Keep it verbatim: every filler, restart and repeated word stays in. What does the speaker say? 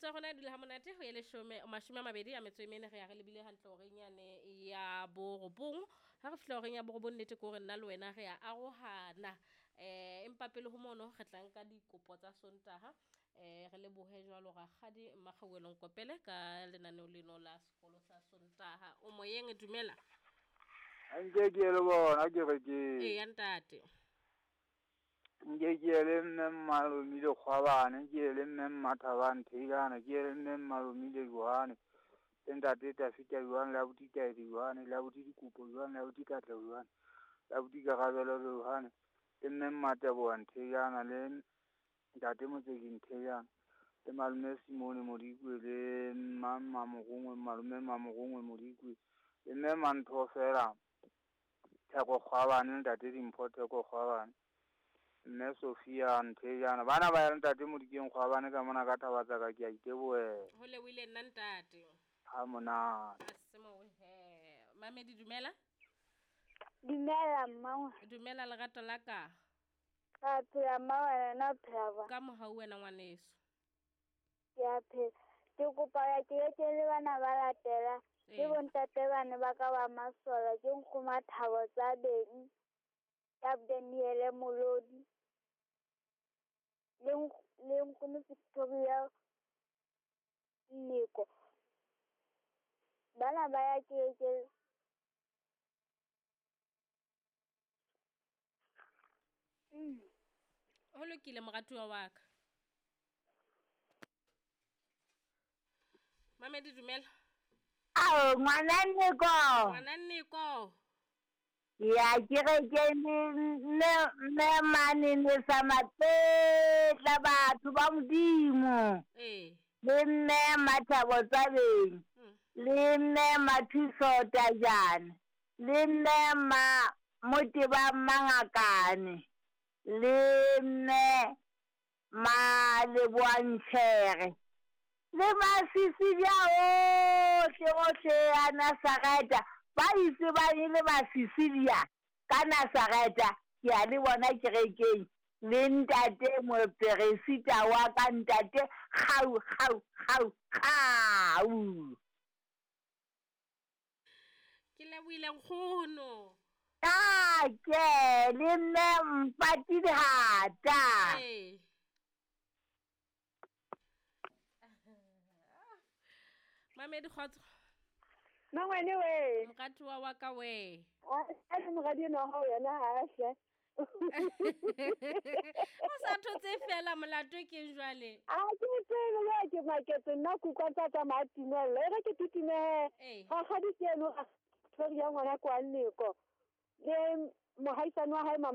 Metsotso ya rona e dula ha monate ho ye leshome mashome a mabedi a metso e mene re ya re lebile hantle horeng yane ya borobong. Ha re fihla horeng ya borobong nnete ke hore nna le wena re ya arohana. Eh empa pele ho mono re tla nka dikopo tsa Sontaha. Eh re lebohe jwalo rakgadi Mmakgauwelo Nkopele ka lenaneo leno la sekolo sa Sontaha. O moyeng, dumela. Nke ke le bona kerekeng. Eya ntate. Nke ke ye le mme Mmalomile Kgwabane, ke ye le mme Mmathabang Theilane, ke ye le mme Mmalomile Johanne, le ntate Tafita Johanne, le abuti Taedi Johanne, le abuti Dikopo Johanne, le abuti Katleho Johanne, le abuti Karabelo Johanne, le mme Mmateboha Nthejana, le ntate Motseki Nthejana, le malome Simone Modikwe, le mma Mmamorongwe, malome Mmamorongwe Modikwe, le mme Mantho fela Theko Kgwabane, le ntate Dimpho Theko Kgwabane, mme Sophia Nthejana. Bana ba ya le ntate Modikeng Kgwabane ka mona ka thaba tsa ka, ke a itebohela. Ho lebohile nna ntate. Ha monate. A se mo he. Mamedi dumela. Dumela mma. Dumela lerato la ka. Ka phela mma wena na phela ba. Ka mohau wena ngwaneso. Ke a phela. Ke kopa ya ke ke le bana ba latela. Ke bontate bana ba ka ba masola, ke nkgoma thabo tsa beng. Ka Daniele Molodi. Le le nkgono Victoria Nneko. Bana ba ya ke ke Mm. Ho lokile moratuwa wa ka. Mamedi dumela. Ao ngwana Nneko. Ngwana Nneko. Ya ke re ke mme mme mane ne sa matletla batho ba Modimo. Eh. Le mme Mathabo Tsabeng. Mm. Le mme Mathuso Tajane. Le mme ma Moteba Mangakane. Le mme Maleboantšhere. Le masisi bja ohle ohle a Nazareta. Ba itse ba le masisi bja ka Nazareta, ke a le bona kerekeng. Le ntate moperesita wa ka ntate kgau kgau kgau kgau. Ke lebohile nkgono. Ah, ke le mme Mpati Dihata. Ee. Mamedi kgotso. Mangwane we. Moratuwa wa ka we. A le moradi enwa wa hao yena ha a hle. O sa thotse fela molato ke jwale. A ke tsebe ya ke maketse nna kutlwa tsa tsamaya timella. E re ke titime. Ee. Rakgadi ke eno a Victoria ngwana kwa Nneko. Le mohaisane wa hae mama